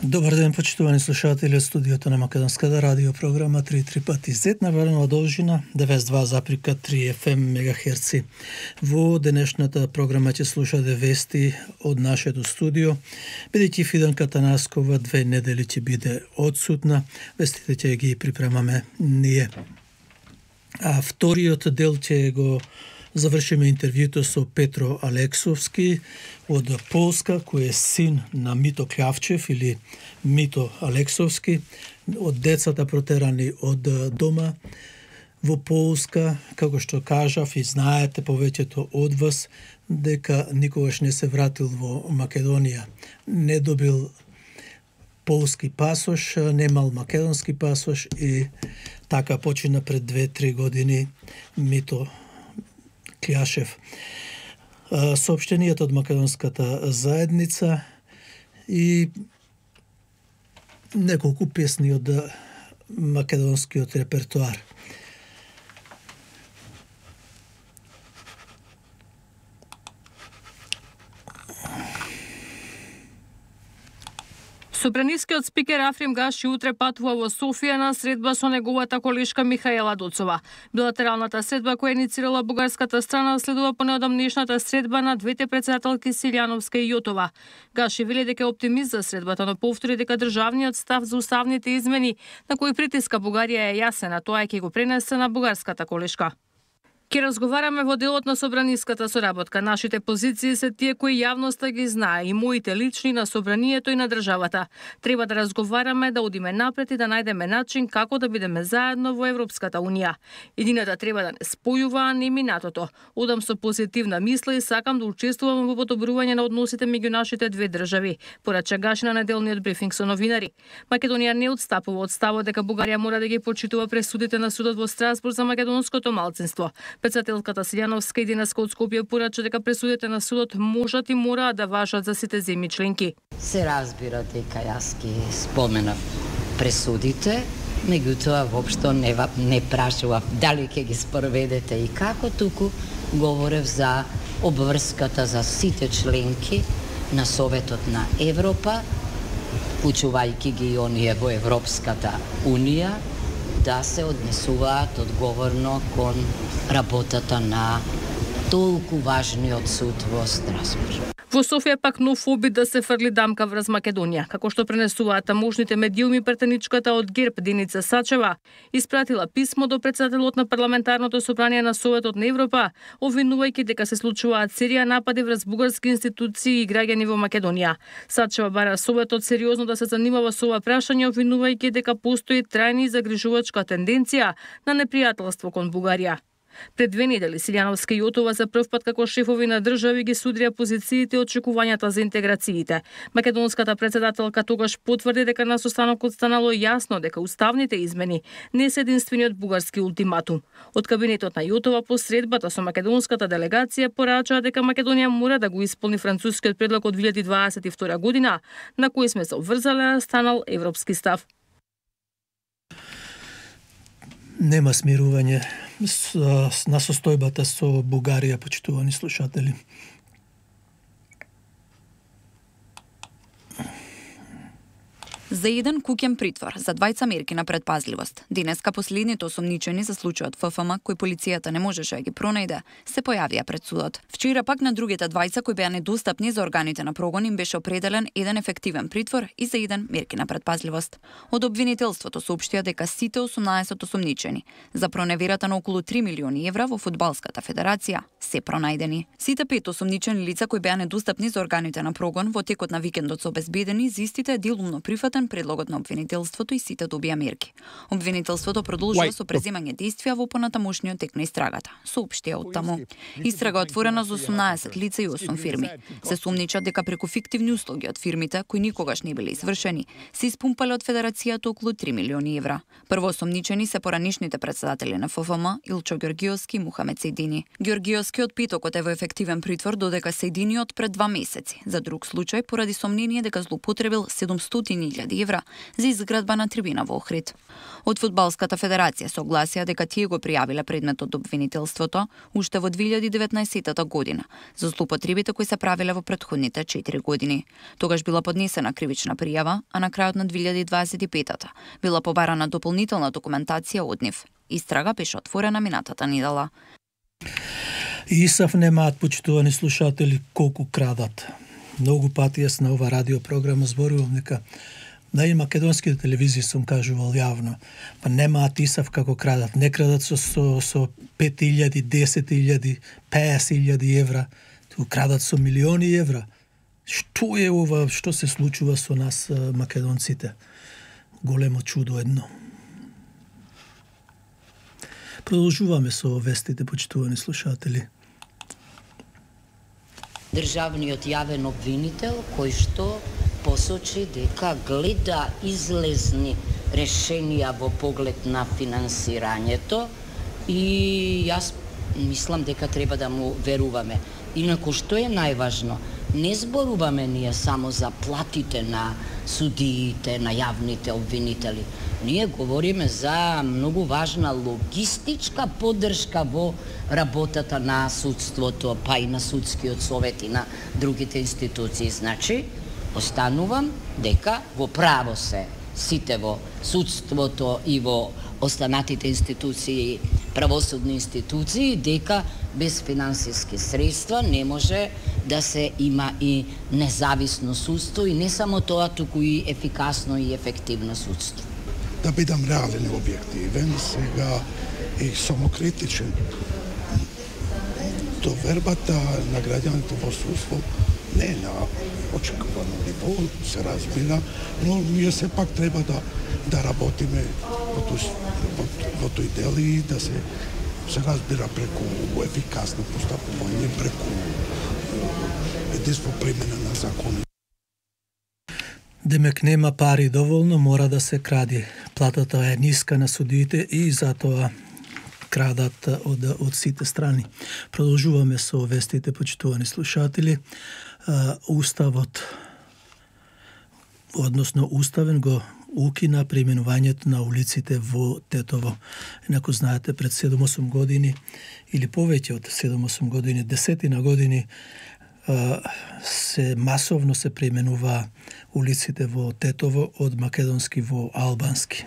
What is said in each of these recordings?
Добар ден, почитувани слушатели од студиото на Македонската радио програма 3 пати Z на валена должина 92,3 FM мегахерци. Во денешната програма ќе слушате вести од нашето студио, бидејќи Фиданка Танаскова 2 недели ќе биде одсутна, вестите ќе ги припремаме ние. А вториот дел ќе го завршиме интервјуто со Петро Алексовски од Полска, кој е син на Мито Клявчев или Мито Алексовски, од децата протерани од дома во Полска, како што кажав и знаете повеќето од вас, дека никогаш не се вратил во Македонија. Не добил полски пасош, немал македонски пасош и така почина пред 2-3 години Мито Клјашев. Соопштенијата од македонската заедница и неколку песни од македонскиот репертуар. Собранискиот спикер Африм Гаши утре патува во Софија на средба со неговата колешка Михаела Доцова. Билатералната средба која иницирала бугарската страна следува по неодамнешната средба на двете претседателки Силјановска и Јотова. Гаши вели дека е оптимист за средбата, но повтори дека државниот став за уставните измени на кои притиска Бугарија е јасен, а тоа ќе го пренесе на бугарската колешка. Ке разговараме во делот на собраниската соработка. Нашите позиции се тие кои јавноста ги знае, и моите лични на собранието и на државата. Треба да разговараме, да одиме напред и да најдеме начин како да бидеме заедно во Европската унија. Едината треба да не спојува, а не минатото. Одам со позитивна мисла и сакам да учествувам во подобрување на односите меѓу нашите две држави, порача Гаши на неделниот брифинг со новинари. Македонија не отстапува од ставот дека Бугарија мора да ги почитува пресудите на судот во Страсбург за македонското малцинство. Председателката Силјановска и денеска од Скопје порача дека пресудите на судот можат и мораат да важат за сите земји членки. Се разбира дека јас ги споменав пресудите, меѓутоа воопшто не прашував дали ќе ги спроведете и како, туку говорев за обврската за сите членки на Советот на Европа, учувајќи ги оние во Европската унија, да се однесуваат одговорно кон работата на толку важниот суд во Страсбург. Во Софија пак нов обид да се фрли дамка врз Македонија, како што пренесуваат тамошните медиуми, претеничката од ГЕРБ Деница Сачева испратила писмо до председателот на парламентарното собрание на Советот на Европа, обвинувајќи дека се случуваат серија напади врз бугарски институции и граѓани во Македонија. Сачева бара Советот сериозно да се занимава со ова прашање, обвинувајќи дека постои трајна и загрижувачка тенденција на непријателство кон Бугарија. Пред 2 недели Силјановска и Јотова за прв пат како шефови на држави ги судрија позициите и очекувањата за интеграциите. Македонската председателка тогаш потврди дека на состанокот станало јасно дека уставните измени не се единствениот бугарски ултиматум. Од кабинетот на Јотова по средбата со македонската делегација порачаа дека Македонија мора да го исполни францускиот предлог од 2022 година, на кој сме се обврзале, станал европски став. Нема смирување на состојбата со Бугарија, почитувани слушатели. За еден куќен притвор, за 2 мерки на предпазливост. Денеска последните осомничени за случајот ФФМ, кој полицијата не можеше да ги пронајде, се појавија пред судот. Вчера пак на другите 2 кои беа недостапни за органите на прогон им беше определен еден ефективен притвор и за еден мерки на предпазливост. Од обвинителството соопштија дека сите 18 осомничени за проневерата на околу 3 милиони евра во Фудбалската федерација се пронајдени. Сите 5 осомничени лица кои беа недостапни за органите на прогон во текот на викендот се обезбедени, за истите делумно прифатен предлогот на обвинителството и сите добија мерки. Обвинителството продолжува со преземање действија во понатамошниот тек на истрагата, соопштија од таму. Истрага отворена за 18 лица и 8 фирми. Се сумничат дека преку фиктивни услуги од фирмите, кои никогаш не биле извршени, се испумпале од федерацијата околу 3 милиони евра. Прво осомничени се поранишните председатели на ФФМ Илчо Ѓоргиовски и Мухамед Сејдини. Ѓоргиовскиот питокот е во ефективен притвор додека Сејдиниот пред 2 месеци. За друг случај поради сомнение дека злоупотребил 700.000 200.000 евра за изградба на трибина во Охрид. Од Фудбалската федерација согласија дека тие го пријавиле предметот обвинителството уште во 2019 година за злоупотребите кои се правиле во претходните 4 години. Тогаш била поднесена кривична пријава, а на крајот на 2025 била побарана дополнителна документација од нив. Истрага беше отворена минатата недела. ИСАФ немаат, почитувани слушатели, колку крадат. Многу пати јас на ова радиопрограма зборувам дека на и македонските телевизии сум кажувал јавно, па немаат ИСАФ како крадат. Не крадат со 5.000, 10.000, 50.000 евра, ту крадат со милиони евра. Што е ова, што се случува со нас македонците? Големо чудо едно. Продолжуваме со вестите, почитувани слушатели. Државниот јавен обвинител кој што посочи дека гледа излезни решенија во поглед на финансирањето и јас мислам дека треба да му веруваме. Инаку што е најважно, не зборуваме ние само за платите на судиите, на јавните обвинители. Ние говориме за многу важна логистичка поддршка во работата на судството, па и на судскиот совет и на другите институции. Значи, останувам дека во право се сите во судството и во останатите институции, правосудни институции, дека без финансиски средства не може да се има и независно судство и не само тоа, туку и ефикасно и ефективно судство. Да бидам реален и објективен, сега и самокритичен. Довербата на граѓаните во судство не е на очекувано ниво, се разбира, но ние сепак треба да работиме во тој дел и да се разбира преку ефикасно постапување, преку единство примена на закони. Демек нема пари доволно, мора да се кради. Платата е ниска на судиите и затоа крадат од сите страни. Продолжуваме со вестите, почитувани слушатели. Уставот, односно уставен го укина преименувањето на улиците во Тетово. Инаку знаете, пред 7-8 години или повеќе од 7-8 години, десетина години се масовно се преименува улиците во Тетово од македонски во албански.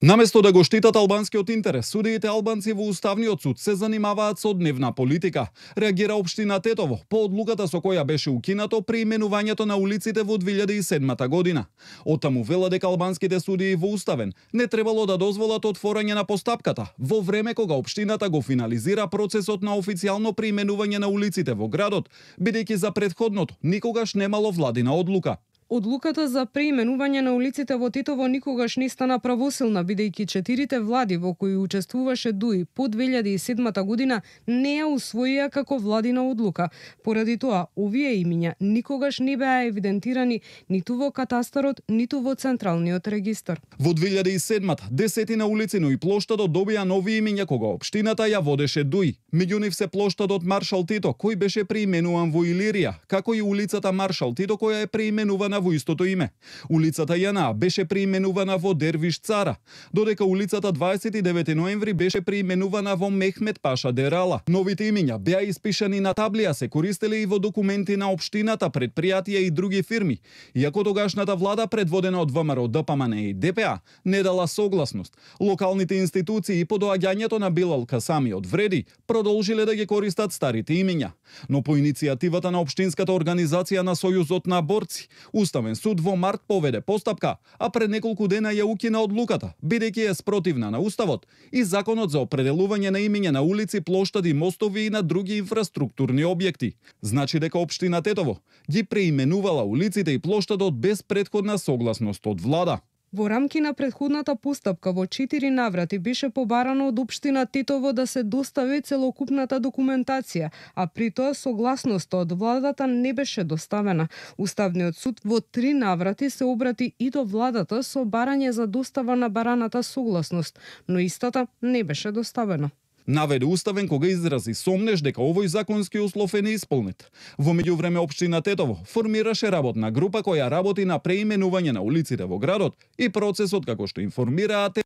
Наместо да го штитат албанскиот интерес, судиите албанци во Уставниот суд се занимаваат со дневна политика. Реагира општина Тетово по одлуката со која беше укинато преименувањето на улиците во 2007 година. Оттаму вела дека албанските судии во Уставен не требало да дозволат отворање на постапката во време кога општината го финализира процесот на официјално преименување на улиците во градот, бидејќи за претходното никогаш немало владина одлука. Одлуката за преименување на улиците во Тетово никогаш не стана правосилна, бидејќи 4 влади во кои учествуваше ДУИ по 2007 година не ја усвоија како владина одлука. Поради тоа, овие имиња никогаш не беа евидентирани ниту во катастарот, ниту во Централниот регистар. Во 2007-та, десетина улици и плоштадот добија нови имиња кога општината ја водеше ДУИ. Меѓу нив се плоштадот Маршал Тито, кој беше преименуван во Илирија, како и улицата Маршал Тито, која е преименувана во истото име. Улицата Јана беше преименувана во Дервиш Цара, додека улицата 29 ноември беше преименувана во Мехмет Паша Дерала. Новите имиња беа испишани на таблија, се користеле и во документи на општината, предпријатија и други фирми, иако тогашната влада предводена од ВМРО, ДПМН и ДПА не дала согласност. Локалните институции по доаѓањето на Билал Касами од Вреди продолжиле да ги користат старите имиња. Но по иницијативата на општинската организација на Сојузот на борци, Уставен суд во март поведе постапка, а пред неколку дена ја укина одлуката, бидејќи е спротивна на Уставот и Законот за определување на имиња на улици, плоштади, мостови и на други инфраструктурни објекти. Значи дека општина Тетово ги преименувала улиците и плоштадот без претходна согласност од влада. Во рамки на претходната постапка во 4 наврати беше побарано од општина Тетово да се достави целокупната документација, а при тоа согласноста од владата не беше доставена. Уставниот суд во 3 наврати се обрати и до владата со барање за достава на бараната согласност, но истата не беше доставена. Наведе уставен кога изрази сомнеж дека овој законски услов е неисполнет. Во меѓувреме општина Тетово формираше работна група која работи на преименување на улиците во градот и процесот како што информираат.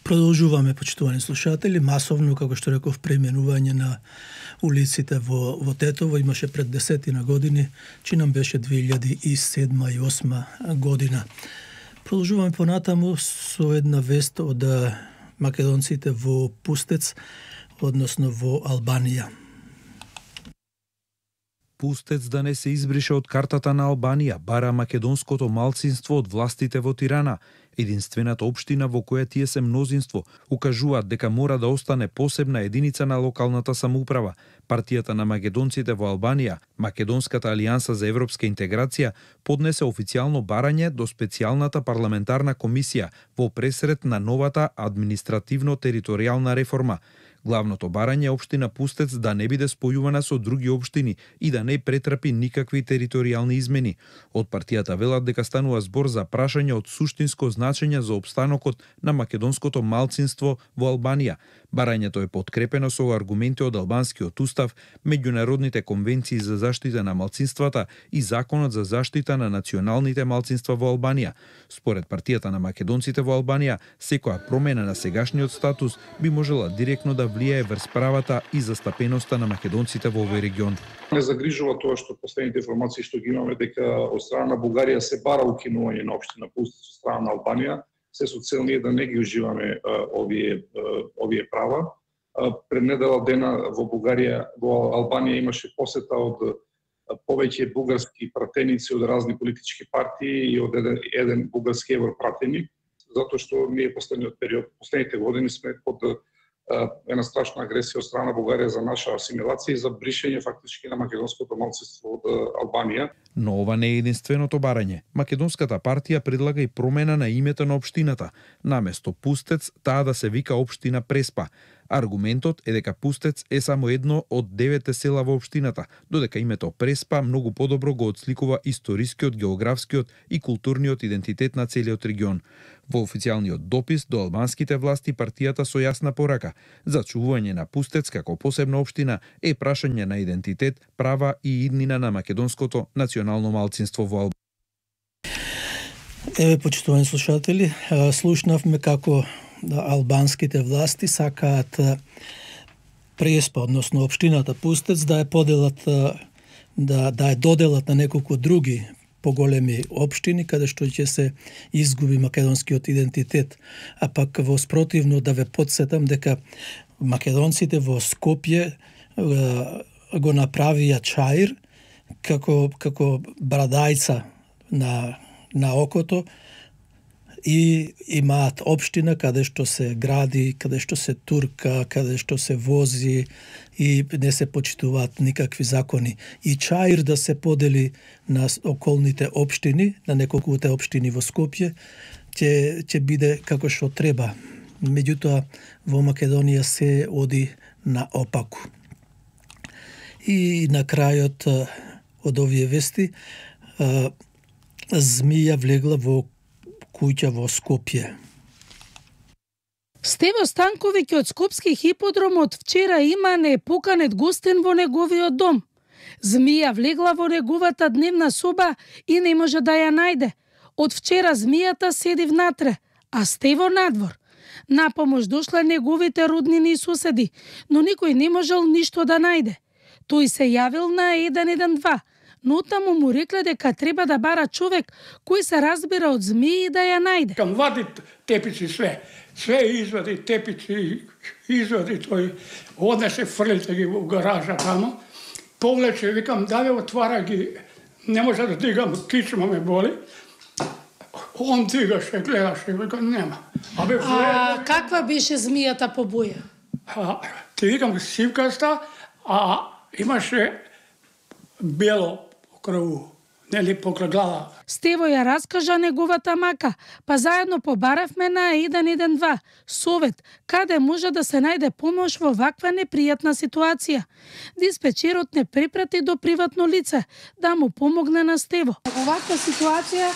Продолжуваме, почитувани слушатели, масовно, како што реков, преименување на улиците во Тетово имаше пред 10 години, чи нам беше 2007 и 2008 година. Продолжуваме понатаму со една вест од македонците во Пустец, односно во Албанија. Пустец да не се избрише од картата на Албанија, бара македонското малцинство од властите во Тирана. Единствената општина во која тие се мнозинство укажуваат дека мора да остане посебна единица на локалната самоуправа. Партијата на македонците во Албанија, Македонската алијанса за европска интеграција, поднесе официјално барање до специјалната парламентарна комисија во пресред на новата административно-територијална реформа. Главното барање е општина Пустец да не биде спојувана со други општини и да не претрпи никакви територијални измени. Од партијата велат дека станува збор за прашање од суштинско значење за опстанокот на македонското малцинство во Албанија. Барањето е подкрепено со аргументи од албанскиот устав, меѓународните конвенции за заштита на малцинствата и законот за заштита на националните малцинства во Албанија. Според партијата на македонците во Албанија, секоја промена на сегашниот статус би можела директно да влијае врз правата и застапеноста на македонците во овој регион. Не загрижува тоа што последните информации што ги имаме дека од страна на Бугарија се бара укинување на општина Пустец од страна на Албанија, се со цел ние да не ги уживаме овие права. Пред недела дена во Бугарија, во Албанија имаше посета од повеќе бугарски пратеници од разни политички партии и од еден бугарски европратеник, затоа што ние последниот период, последните години сме под една страшна агресија од страна на Бугарија за наша асимилација и за бришење фактички на македонското малцинство од Албанија. Но ова не е единственото барање. Македонската партија предлага и промена на името на општината. Наместо Пустец, таа да се вика општина Преспа. Аргументот е дека Пустец е само едно од 9 села во општината, додека името Преспа многу подобро го отсликува историскиот, географскиот и културниот идентитет на целиот регион. Во официјалниот допис до албанските власти партијата со јасна порака: зачувување на Пустец како посебна општина е прашање на идентитет, права и иднина на македонското национално малцинство во Албанија. Еве, почитувани слушатели, слушнавме како албанските власти сакаат Преспа, односно општината Пустец, да ја поделат, да ја доделат на неколку други поголеми општини, каде што ќе се изгуби македонскиот идентитет. А пак во спротивно да ве подсетам дека македонците во Скопје го направија Чаир како брадајца на окото, и имаат општина каде што се гради, каде што се турка, каде што се вози и не се почитуваат никакви закони. И Чаир да се подели на околните општини, на неколкуте општини во Скопје, ќе биде како што треба. Меѓутоа, во Македонија се оди наопаку. И на крајот од овие вести, змија влегла во куќа во Скопје. Стево Станковиќ од Скопски хиподром од вчера има непоканет гостин во неговиот дом. Змија влегла во неговата дневна соба и не може да ја најде. Од вчера змијата седи внатре, а Стево надвор. На помош дошла неговите роднини и соседи, но никој не можел ништо да најде. Тој се јавил на 112, но таму му рекле дека треба да бара човек кој се разбира од змии да ја најде. Кам вади тепици све извади тепици, извади тој, однесе фрлите ги во гаража тамо, повлече, викам, да ве отвара ги, не може да дигам, кичма ме боли. Он дигаше, гледаше, викам, нема. А каква беше змијата по боја? Ти викам, сивкаста, а имаше бело покрај, нели покрај глава. Стево ја раскажа неговата мака, па заедно побаравме на 112 совет, каде може да се најде помош во ваква непријатна ситуација. Диспечерот не препрати до приватно лице да му помогне на Стево. Во ваква ситуација,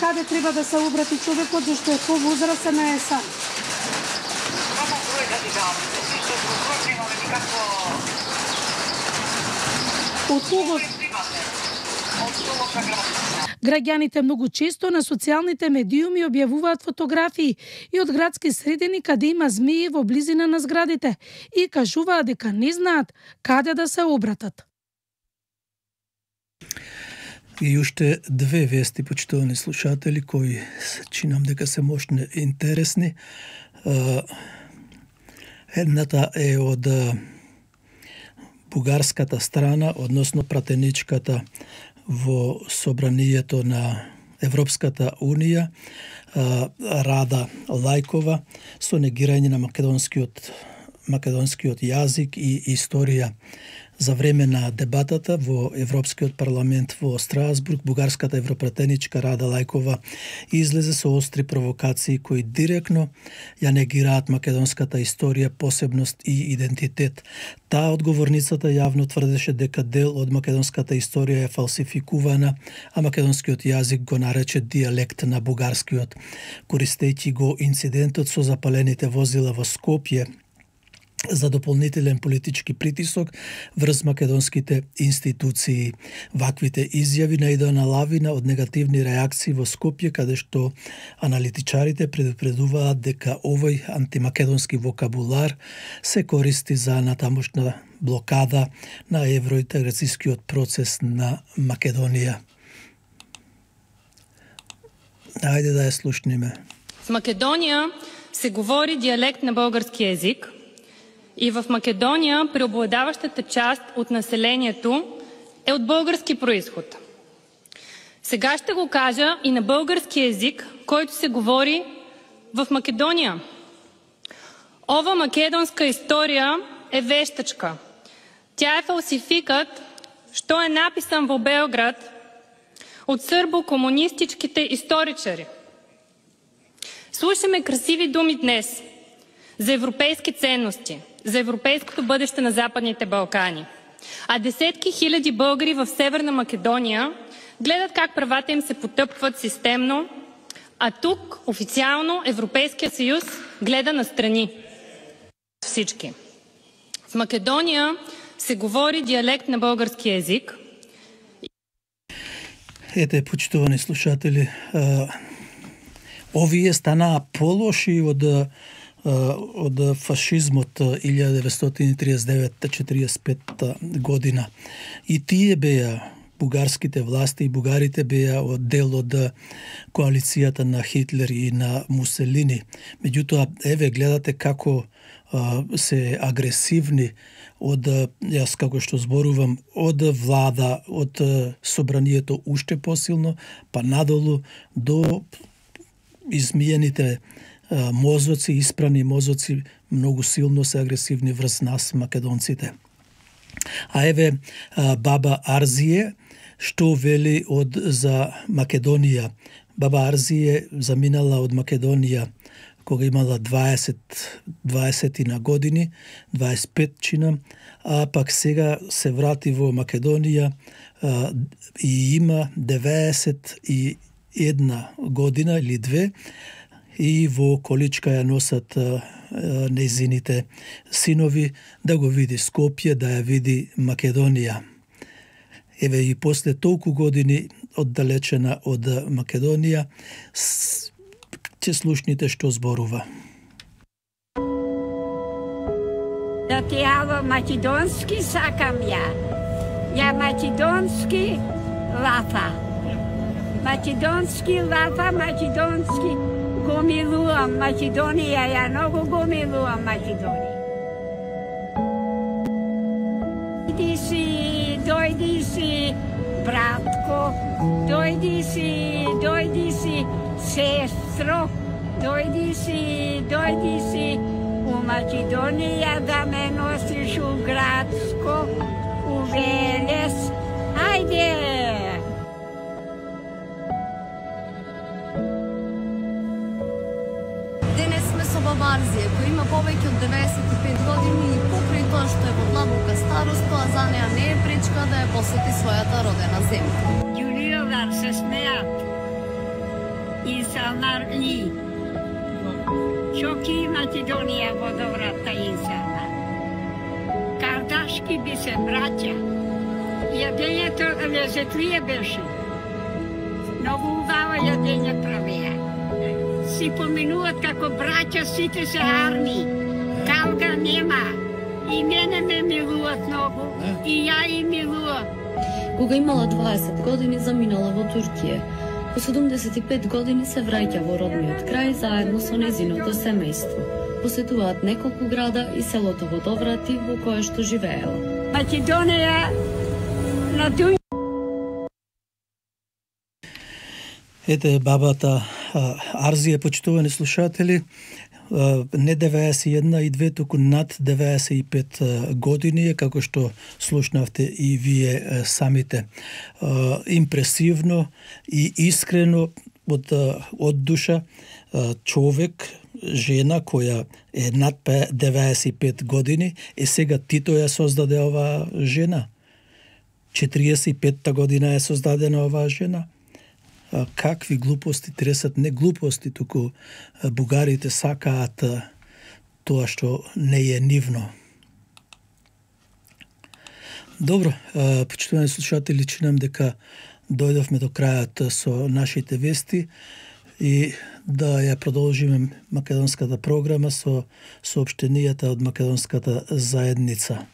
каде треба да се обрати човекот, зашто е повозрастен, е сам? Граѓаните многу често на социјалните медиуми објавуваат фотографии и од градски средини каде има змии во близина на зградите и кажуваат дека не знаат каде да се обратат. И уште две вести, почитувани слушатели, кои чинам дека се можни интересни. Едната е од бугарската страна, односно пратеничката во собранието на Европската Унија, Рада Лајкова, со негирање на македонскиот јазик и историја. За време на дебатата во Европскиот парламент во Страсбург, бугарската европратеничка Рада Лајкова излезе со остри провокации кои директно ја негираат македонската историја, посебност и идентитет. Таа одговорницата јавно тврдеше дека дел од македонската историја е фалсификувана, а македонскиот јазик го нарече дијалект на бугарскиот, користејќи го инцидентот со запалените возила во Скопје за дополнителен политички притисок врз македонските институции. Ваквите изјави наидоа на лавина од негативни реакции во Скопје, каде што аналитичарите предупредуваат дека овој антимакедонски вокабулар се користи за натамошна блокада на евроинтеграцијскиот процес на Македонија. Ајде да ја слушниме. В Македонија се говори дијалект на български език. И в Македонија преобладаващата част от населението е от български происход. Сега ще го кажа и на български език, който се говори в Македонија. Ова македонска история е вештачка. Тя е фалсификат, што е написан во Белград от сърбо-комунистичките историчари. Слушаме красиви думи днес за европейски ценности, за европейското бъдеще на Западните Балкани. А десетки хиляди българи в Северна Македония гледат как правата им се потъпват системно, а тук официално Европейския съюз гледа настрани. Всички. В Македония се говори диалект на български език. Ете, почитувани слушатели, овие станаа полоши од фашизмот 1939-45 година. И тие беа бугарските власти и бугарите беа дел од коалицијата на Хитлер и на Муселини. Меѓутоа, еве гледате како се агресивни од, јас како што зборувам, од влада, од собранието уште посилно, па надолу до измиените мозоци, испрани мозоци, многу силно се агресивни врз нас, македонците. А еве баба Арзие, што вели за Македонија. Баба Арзие заминала од Македонија кога имала 20 на години, 25 чина, а пак сега се врати во Македонија и има 91 година или 2, и во количка ја носат нејзините синови да го види Скопје, да ја види Македонија. Еве и после толку години оддалечена од Македонија, ќе слушните што зборува. Да ти ало македонски сакам ја. Ја македонски лафа. Македонски лафа, македонски го милувам Македонија, ја многу го милувам Македонија. Дојди си, братко, дојди си, сестро, дојди си у Македонија да ме носиш у Градско, у Велес. Ајде! Баба Арзија, која има повеќе од 95 години и покрај тоа што е во длабока старост, тоа за неа не е пречка да ја посети својата родена земја. Јулиовар се смеат и са нарни. Чоки Македонија водоврата инсана. Кардашки би се браќа. Јадењето лезетлие беше. Многу убаво јадење правеа. Си поминуват како браќа, сите се арни. Калга нема. И мене ме милуват многу. И ја и милувам. Кога имала 20 години, заминала во Туркија. По 75 години се враќа во родниот крај заедно со незиното семејство. Посетуваат неколку града и селото Водоврати во кое што живеела. Македонија на дуј. Ете бабата Арзија, почитувани слушатели, не 91 и 2, туку над 95 години е, како што слушнавте и вие самите. Импресивно и искрено од душа човек, жена која е над 95 години, сега Тито ја создаде оваа жена. 45-та година е создадена оваа жена. Какви глупости тресат, не глупости, туку бугарите сакаат тоа што не е нивно. Добро, почитувани слушатели, чинам дека дојдовме до крајот со нашите вести и да ја продолжиме македонската програма со соопштенијата од македонската заедница.